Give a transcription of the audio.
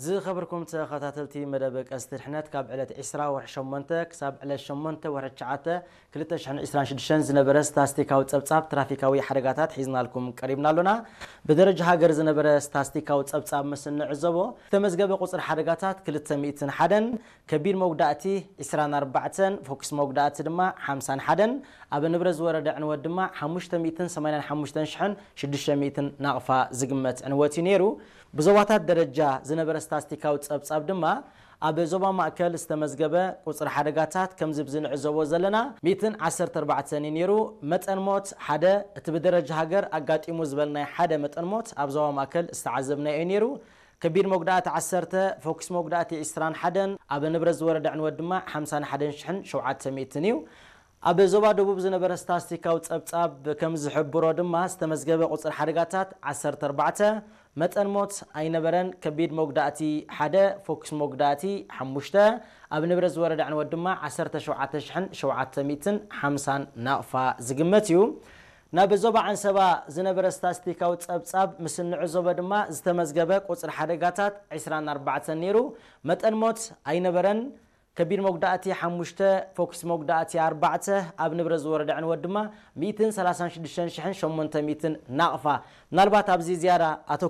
ዝኸበርኩም ተኸታተልቲ መደብ ቀስቲ ድሕነት፣ ካብ ዕለት ዕስራ ወርሒ ሸሞንተ ክሳብ ዕለት ሸሞንተ ወርሒ ትሽዓተ ክልተ ሽሕን ዕስራን ሽዱሽተን ዝነበረ ስታስቲካዊ ጸብጻብ ትራፊካዊ ሓደጋታት ሒዝናልኩም ቀሪብና ኣሎና። ብደረጃ ሃገር ዝነበረ ስታስቲካዊ ጸብጻብ ምስ እንዕዘቦ፣ ዝተመዝገበ ቁጽሪ ሓደጋታት ክልተ ሚእትን ሓደን፣ ከቢድ መጉዳእቲ ዕስራን ኣርባዕተን፣ ፎክስ መጉዳእቲ ድማ ሓምሳን ሓደን፣ ኣብ ንብረት ዝወረደ ዕንወት ድማ ሓሙሽተ ሚእትን ሰማንያን ሓሙሽተን ሽሕን ሽዱሽተ ሚእትን ናቕፋ ዝግመት ዕንወት እዩ ነይሩ። ብዞባታት ደረጃ ዝነበረ ስታስቲካዊ ጸብጻብ ድማ፣ ኣብ ዞባ ማእከል ዝተመዝገበ ቁጽሪ ሓደጋታት ከምዚ ብዚ ንዕዘቦ ዘለና ሚእትን ዓሰርተ ኣርባዕተን እዩ ነይሩ። መጠን ሞት ሓደ፣ እቲ ብደረጃ ሃገር ኣጋጢሙ ዝበልናይ ሓደ መጠን ሞት ኣብ ዞባ ማእከል ዝተዓዘብናዮ እዩ ነይሩ። ከቢድ መጉዳእቲ ዓሰርተ፣ ፎክስ መጉዳእቲ ዕስራን ሓደን፣ ኣብ ንብረት ዝወረደ ዕንወት ድማ ሓምሳን ሓደን ሽሕን ሸውዓተ ሚእትን እዩ። ኣብ ዞባ ደቡብ ዝነበረ ስታስቲካዊ ጸብጻብ ከም ዝሕብሮ ድማ፣ ዝተመዝገበ ቁጽሪ ሓደጋታት ዓሰርተ ኣርባዕተ፣ መጠን ሞት ኣይነበረን። ከቢድ መጉዳእቲ ሓደ፣ ፎክስ መጉዳእቲ ሓሙሽተ፣ ኣብ ንብረት ዝወረደ ዕንወት ድማ ዓሰርተ ሸውዓተ ሽሕን ሸውዓተ ሚእትን ሓምሳን ናቕፋ ዝግመት እዩ። ናብ ዞባ ዓንሰባ ዝነበረ ስታስቲካዊ ጸብጻብ ምስ እንዕዘቦ ድማ፣ ዝተመዝገበ ቁጽሪ ሓደጋታት ዕስራን ኣርባዕተን ነይሩ። መጠን ሞት ኣይነበረን። ከቢድ መጉዳእቲ ሓሙሽተ፣ ፎክስ መጉዳእቲ ኣርባዕተ፣ ኣብ ንብረት ዝወረደ ዕንወት ድማ ሚእትን ሰላሳን ሽዱሽተን ሽሕን ሸሞንተ ሚእትን ናቕፋ። ምናልባት ኣብዚ ዝያዳ ኣቶ